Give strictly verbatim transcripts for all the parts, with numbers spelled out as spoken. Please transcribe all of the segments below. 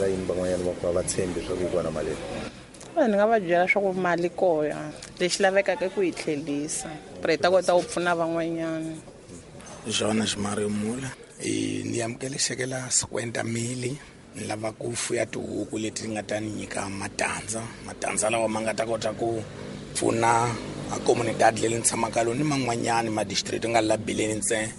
Yini van'wanyana va ku va tshembi swa ku yi kona mali? Ni nga va byela swa ku mali koya lexi lavekaka ku yi tlhelisa ku ri hi ta kota ku pfuna van'wanyana. Jonas Mario Mula ni amukele xeke la cinquenta mili ni lava ku fuya tihuku leti nga ta ni nyika matandza matandza lawa ma nga ta kota ku pfuna a comunidad leyi ni tshamaka lona ni man'wanyani ma district nga la Bileni ntsena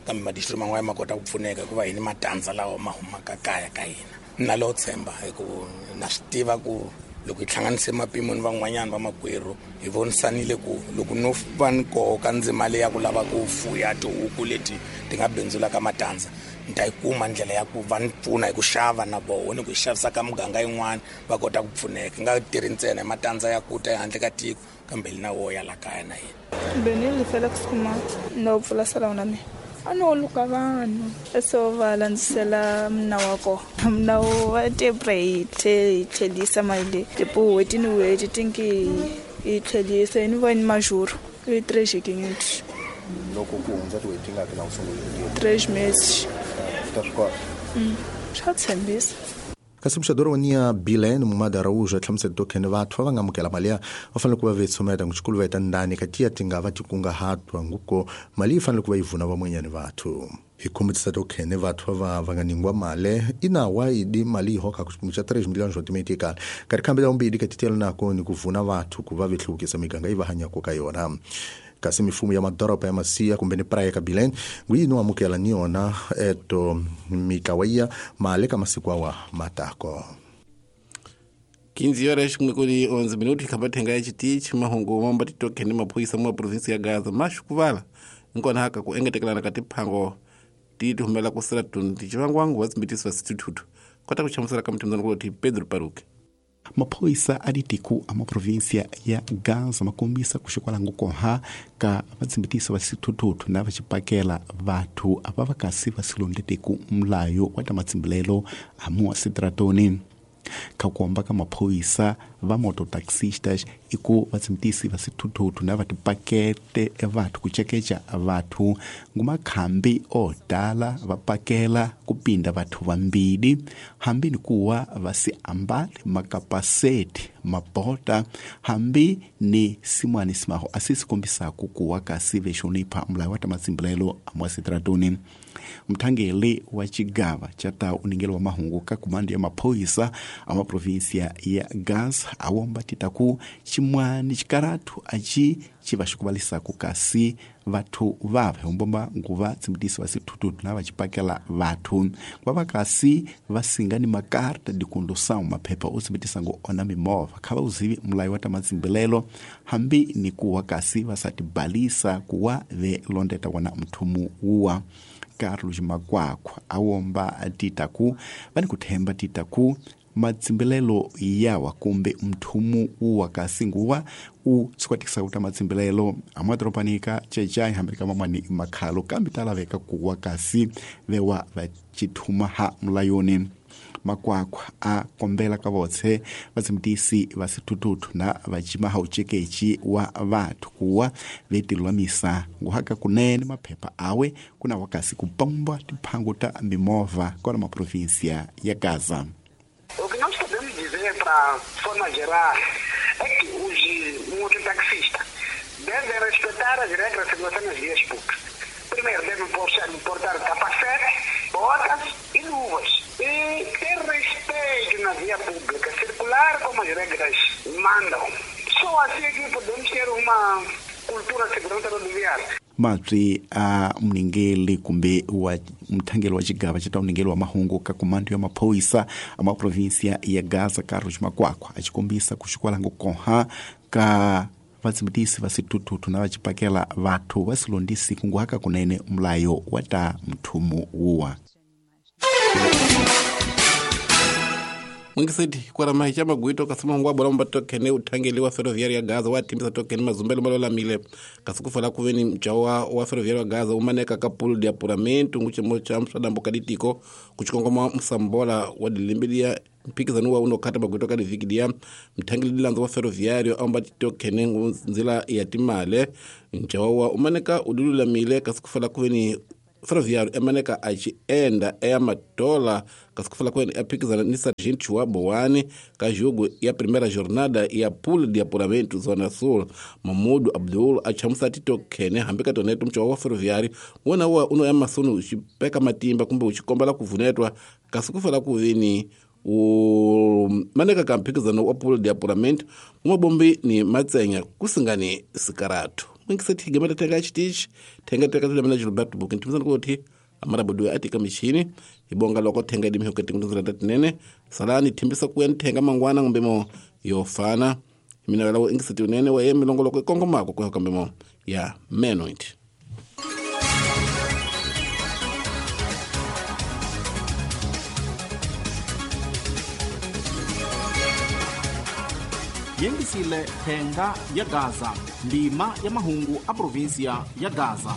kambe ma district man'wanyana ma kota ku pfuneka hikuva hi ni matandza lawa ma humaka kaya ka hina. Na lo tshemba hi ku na swi tiva ku loko hi hlanganise mapimo ni van'wanyana va makwerhu hi vonisanile ku loko no va ni koka ndzima leyi ya ku lava ku fuya tihuku leti ti nga bindzulaka matandza ni ta yi kuma ndlela ya ku va ni pfuna hi ku xava na voho ni ku hi xavisa ka muganga yin'wana va kota ku pfuneka nga tirhi ntsena hi matandza ya ku ta ehandle ka tiko kambe li na wo ya la kaya na hina. Benile Felix Khumalo no pfula salon na mina a no luka vanhu so va landzisela mna wa kona mna wa tepre hi tlhelisa mali leyi tipo n'hweti ni n'hweti tinki hi tlhelisa ni va ni majuro i três quinhentos loko ku hundza tin'hweti tingaki na ku sungula três meses ta swi kota swa tshembisa. Kasi muxadori wa niya Bilene Mumada Araújo a hlamusela tokhene vathu va nga amukela mali ya va fanele ku va ve tshumeta ngutshikulu va ndani ka tiya ti nga va ti kungahatwa nguko mali yi fanele ku va yi vuna van'wanyani vathu. Hi khumbutisa tokhene vathu va va nga ningwa mali inawa idi mali yi hoka ku xipimo xa três milhões otimetikala ka rikhambi la vumbirhi ka titela nako ni ku vuna vathu ku va vehluvukisa miganga yi va hanyaka ka yona. Kasi mifumo ya madoroba ya Masia kumbe ni praia ka Bilene ngwini amukela ni yona eto mitlawa mali ka masiku awa matako. quinze horas kuli onze minutos khabathenga ya chitichi mahungu mambo titokhene maphoyisa mwa provinsi ya Gaza mashukuvala nkona haka ku engetekelana ka tiphango ti humela ku sela tundi chivangwangu wa tsimbitiso wa kota ku chamusela ka mthimzana kuloti Pedro Paruke. Maphoyisa a ditiko a maprovinsia ya Gaza makombisa ku xikwalango koha ka vatsimbitisi va xithuthuthu na va xipakela vathu ava va kasi va silondlete mulayo wa ta matsimbilelo a mua sitratoni. Ka kuomba ka maphoyisa va mototaxistas i ku vatsimbitisi va xithuthuthu na va tipakete vathu ku cekeca vathu ngumakhambi o tala va pakela ku pinda vathu vambili hambi ni kuwa va si ambali makapaseti mabota hambi ni simwani simaho asisi kombisaku kuwa kasi vexonipha mulayo wa ta matsimbilelo a mwa sitratoni. Mthangeli wa chigava cha ta uningelo wa mahungu ka kumando ya maphoyisa a maprovinsia ya Gaza awomba titaku chimwani chikaratu achi chivashikuvalisaku kasi vathu vave hombomba nguva tsimbitisi va xithuthuthu na va xipakela vathu va va kasi va singa ni makarta de condução maphepha o tsimbitisa ngo ona mimovha kha va uzivi mulayo wa ta matsimbilelo hambi ni kuwa kasi va sa tibalisa kuwa ve londeta wona mthumu wuwa. Carlos Makwakwa awomba titaku va ni ku themba titaku matsimbilelo yawa kumbe mthumu uwa kasi nguwa u sikwatikisa kuta matsimbilelo amadoropanika chechai hambi ka mamani makhalo kambe talaveka kuwa kasi vewa va chithuma ha mulayoni. Makwakwa a kombela ka votse vatsimbitisi va xithuthuthu na va cimaha ucekechi wa vathu kuwa vetilwamisa nguhaka kunene maphepha awe kuna wakasi kupamba tiphango ta mimovha kona maprovinsia ya Gaza. O que nós podemos dizer para forma geral é que os mototaxistas devem respeitar as regras de segurança nas vias públicas. Primeiro, devem portar capacete, botas e luvas. E ter respeito na via pública, circular como as regras mandam. Só assim é que podemos ter uma cultura de segurança rodoviária. Matri a mningeli kumbe wa mthangeli wa xigava xa ta mningeli wa mahungu ka kumando ya maphoyisa a maprovinsia ya Gaza Carlos Makwakwa a xikombisa ku xikwalango koha ka vatsimbitisi va xithuthuthu na va xipakela vathu va silondisi kunguhaka kunene mulayo wa ta mthumu wuwa. Mwingiseti kwara cha magwito kasema ngwa bora mba tokene uthangeli wa ferroviária ya Gaza wa timbisa tokene mazumbelo malolamile kasukufala kuveni mchawa wa ferroviária wa Gaza umaneka ka pulo de apuramento nguchemo cha msadambo kaditiko kuchikongoma msambola wa dilimbilia mpikizano wa unokata magwito ka divikidia mthangeli dilanzo wa ferroviário amba tokene nzila ya timale mchawa wa umaneka udululamile kasukufala kuveni Ferroviário emaneka a ci enda eya matola kasi ku fala kwene a phikizana ni Sargento wa Boane ka jogo ya primeira jornada ya pool de apuramento Zona Sul. Mamudu Abdul a chamusa tito khene hambi ka toneto mchawa wa Ferroviário wona wa uno ya masunu uxipeka matimba kumbe uxikombela ku vunetwa kasi ku fala ku vini u maneka ka mphikizano wa pool de apuramento mumabombi ni matsenya kusingani sikaratu mwingiseti higemeta thenga xitichi thenga teka tulemela Gilberto Bukin timisana kuti amarabudu atika michini ibonga loko thenga dimihoko tingundzela tinene salani thimbisa kuya ni thenga mangwana ngumbemo yo fana mina lawo ingiseti unene wa ye milongoloko ikongomako kuya kambemo ya menoit. Yengisile thenga ya Gaza, ndima ya mahungu a província ya Gaza.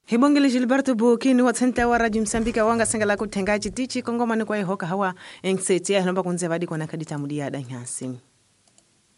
Hibongele Gilberto Bukini wa tsenta wa Radio Msambika wanga sengela ku thenga chitichi kongomani kwa ihoka hawa engiseti ya lomba kunze vadi kona kadita mudia da nyasi.